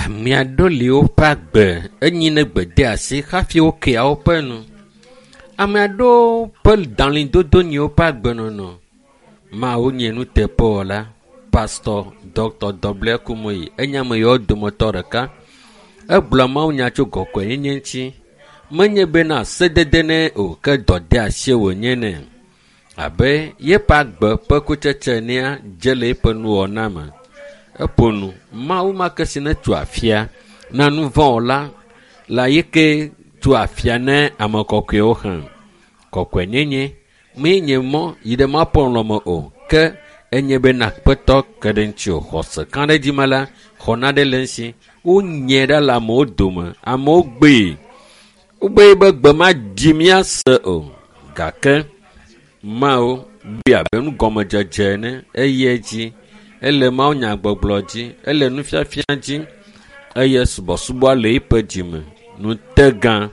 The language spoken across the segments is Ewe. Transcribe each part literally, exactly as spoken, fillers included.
Ame aɖewo le woƒe agbe enyi ne gbedeasi hafi wokea woƒe nu. Ame aɖewo ƒe dalĩdodo nye woƒe agbenɔnɔ. Mawu nye nuteƒewɔla. Pastor Dr. W. Kumuyi enye ame yawo dometɔ ɖeka. Egblɔ mawunya tso kɔkɔenyenye ŋuti. Menye bena sedede nɛ o ke dɔdeasie wònye nɛ. Abe yeƒe agbe ƒe kutsetse enea dze le eƒe nuwɔna me. Eƒo nu Mawu ma ke si ne tso afia na nu vɔ̃ la le yi ke tso afia ne ame kɔkɔewo hã. Kɔkɔenyenye mee nye mɔ yi ɖe Mawu ƒe lɔlɔ̃me o ke enye bena Aƒetɔ ke ɖe ŋuti o. Xɔse kã ɖe dzi me la, xɔna ɖe le ŋuti. Wonyae ɖa le amewo dome. Amewo gbee. Wogbee be gbe ma dzi míase o. Gake Mawu bui abe nugɔmedzedze ene eye edzi. Ele mawunyagbɔgblɔ dzi, ele nufiafia dzi eye subɔsubɔ le eƒe dzime. Ŋutegã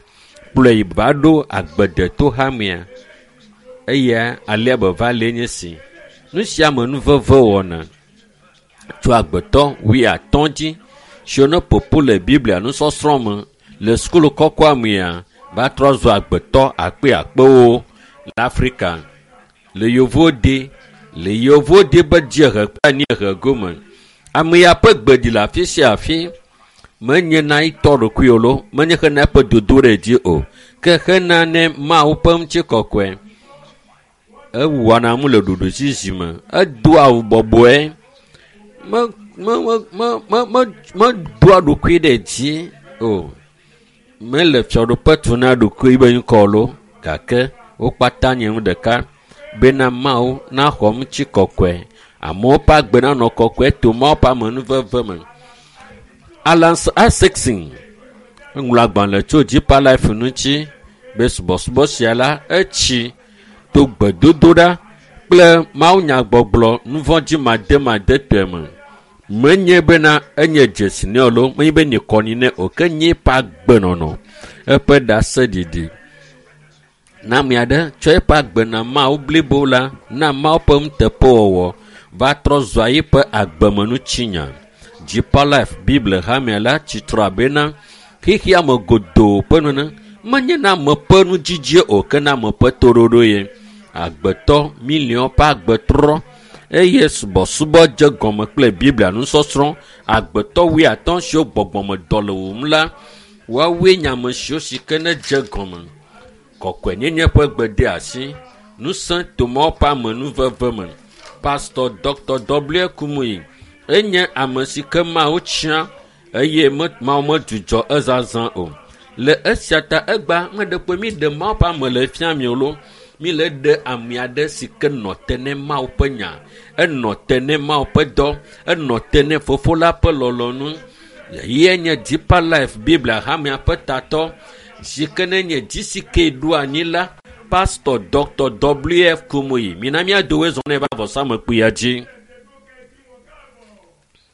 kplɔe va ɖo agbedetohamea eye alea be va le nye si. Nu sia me nuveve wɔna tso agbetɔ wuiatɔ̃ dzi siwo ne ƒoƒu le Biblia nusɔsrɔ̃ me le sukulu kɔkɔa mea va trɔ zu agbetɔ akpe akpewo le Afrika le yovode le yovode be dziehe kple anyiehe gome. Ame ya ƒe gbe ɖi le afi sia afi. Menye na etɔ ɖokui o loo, menye hena eƒe dodoɖedzi o, ke hena ne Mawu ƒe ŋutikɔkɔe. Ewɔna nu le ɖoɖoezizi me. Edoa awu bɔbɔe. Me me me me me medoa ɖokui ɖe dzi o. Mele fiaɖuƒe tu na ɖokui be ŋkɔ loo gake wo kpata nye nu ɖeka bena Mawu naxɔ ŋutikɔkɔe. Amewo ƒe agbe nanɔ kɔkɔe to Mawu ƒe amenuveve me. Alan Isaacson eŋlɔ agbalẽ tso Deeper Life ŋuti be subɔsubɔ sia la etsi to gbedodoɖa kple mawunyagbɔgblɔ nuvɔ̃dzimademadetɔe me. Menye bena enye dzesi nɛ o loo, menye be nye kɔni nɛ o, ke nye eƒe agbenɔnɔ, eƒe ɖaseɖiɖi. Na ame aɖe tsɔ eƒe agbe na Mawu blibo la, na Mawu ƒe nuteƒewɔwɔ va trɔ zua eƒe agbemenutsinya. Deeper Life Bible hamea la tsitre abena xexea me godoo ƒe nene menye na ame ƒe nudzidzie o ke na ame ƒe toɖoɖo ye. Agbetɔ miliɔn ƒe agbe trɔ eye subɔsubɔ dze gɔme kple Biblia nusɔsrɔ̃. Agbetɔ wuiatɔ̃ siwo gbɔgbɔmedɔ le wum la, woawoe nye ame siwo si ke ne dze gɔme. Kɔkɔenyenye ƒe gbedeasi, ŋusẽ to Mawu ƒe amenuveve me. Pastor Dr. W. Kumuyi enye ame si ke Mawu tia eye me Mawu medzudzɔ ezazã o. Le esia ta egba meɖe kpe mi ɖe Mawu ƒe ame le fia mi o loo. Mi le ɖe ame aɖe si ke nɔ te ne Mawu ƒe nya, enɔ te ne Mawu ƒe dɔ, enɔ te ne Fofo la ƒe lɔlɔ̃nu. Ye nye Deeper Life Biblia hamea ƒe tatɔ si ke ne nye GCK ɖo anyi la, Pastor Dr. W. F. Kumuyi. Mina míado wo zɔ ne va vɔsamlekpuia dzi.